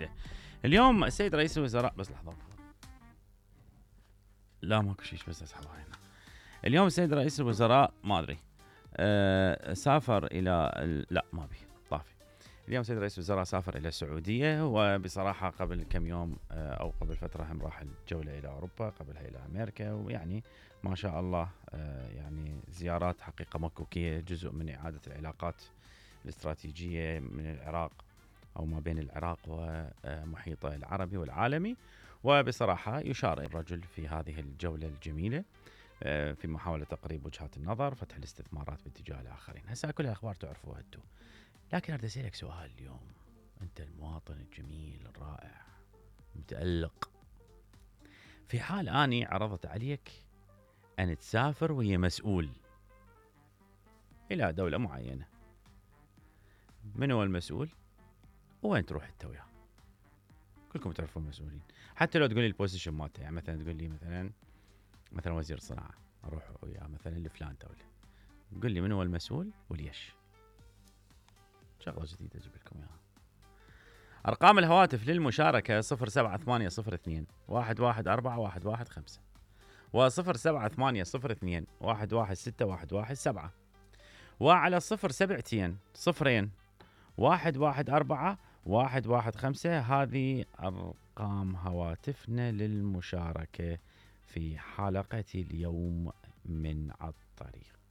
جديدة. اليوم السيد رئيس الوزراء بس لحظة لا ماكو شيء بس اسحبها هنا. اليوم السيد رئيس الوزراء ما ادري سافر الى لا ما بي طافي. اليوم سيد رئيس الوزراء سافر الى السعوديه، وبصراحه قبل كم يوم او قبل فتره هم راح الجوله الى اوروبا، قبلها الى امريكا، ويعني ما شاء الله يعني زيارات حقيقه مكوكيه، جزء من اعاده العلاقات الاستراتيجيه من العراق او ما بين العراق ومحيطه العربي والعالمي. وبصراحه يشار الرجل في هذه الجوله الجميله في محاولة تقريب وجهات النظر، فتح الاستثمارات باتجاه الآخرين. هسه كل الأخبار تعرفوها انتو، لكن أريد أسألك سؤال اليوم. أنت المواطن الجميل الرائع متألق، في حال أني عرضت عليك أن تسافر ويا مسؤول إلى دولة معينة، من هو المسؤول وين تروح أنت وياه؟ كلكم تعرفون المسؤولين، حتى لو تقول لي البوزيشن مالته، يعني مثلا تقول لي مثلا وزير الصناعة اروح وياه مثلا لفلان دولة، قل لي من هو المسؤول وليش. شغلة جديدة اجيب لكم اياها. ارقام الهواتف للمشاركة 07802 1141115 و 07802 1161117 وعلى 072 0 114 115. هذه ارقام هواتفنا للمشاركة في حلقة اليوم من الطريق.